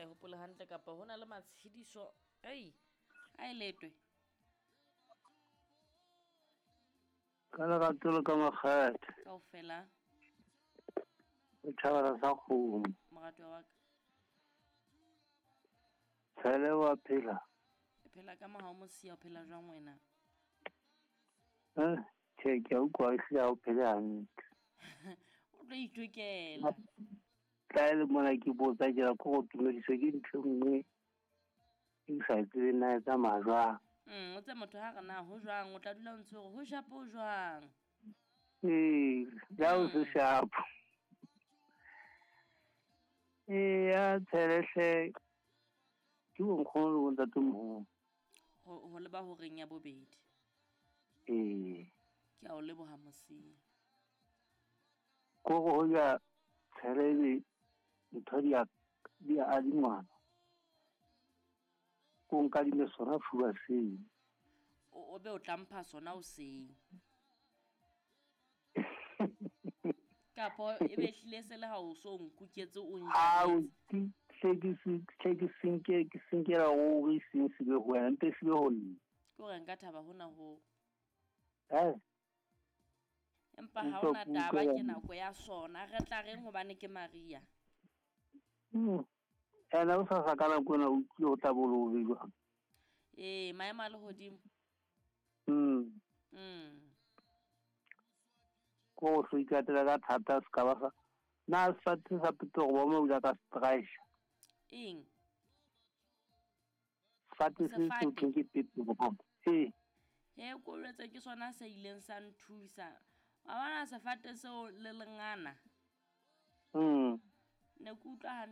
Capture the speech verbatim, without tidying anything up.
sa e hopole hantle kapa ho na le matshediso ei a e letwe. Ka lerato le ka makgethe. Kaofela. O thabela sa kgomo. Moratuwa wa ka. Tshele wa phela. E phela ka mohau mosia, o phela jwang wena? Eh, tjhe, ke a utlwa ehlile ha o phele hantle. O tlo itokela. Tla e le mona ke botsa ke ra ko go tumediswe ke ntho e nngwe e ke sa e tsebeng na e tsamaya jwang. Mm, o tse motho ha re na ho jwang, o tla dula o ntse hore ho shapo jwang. Ee, ja o se shapo. Ee, ya tshelehle ke bonkgono le bontatemoholo. Ho ho leba horeng ya bobedi. Ee. Ke a o leboha mosia. Kore ho ja tshelele ntho di a di a adingwana. Ko nkadime sona fuba seo. O o be o tla mpha sona hoseng. Kapo e be hlile se le ha o so nkuketse o Ao, njalletse. ke hle ke se hle ke senke ke senkela ruri seng se be ho wena mpe se be ho nna. Ke hore nka thaba hona ho. Eh. Empa ha Utlwa hona ke taba utlwela ke nako ya sona. Re tla reng hobane ke Maria. Mm. Ene o sa sa ka nako ena o utlwile ho tla bo le hobe jwang. Ee, maemo a lehodimo. Mm. Mm. Ko go hlo ikatela ka thata se ka ba sa. Na sefate sa Petoro ba mo o ka stretch. Eng? Sefate se se Sefate? thweng ke Petoro ba. Ee. He ko jwetse ke sona se ileng sa nthusa. Wa bona sefate seo le lengana. Mm. Ne ke utlwa hantle.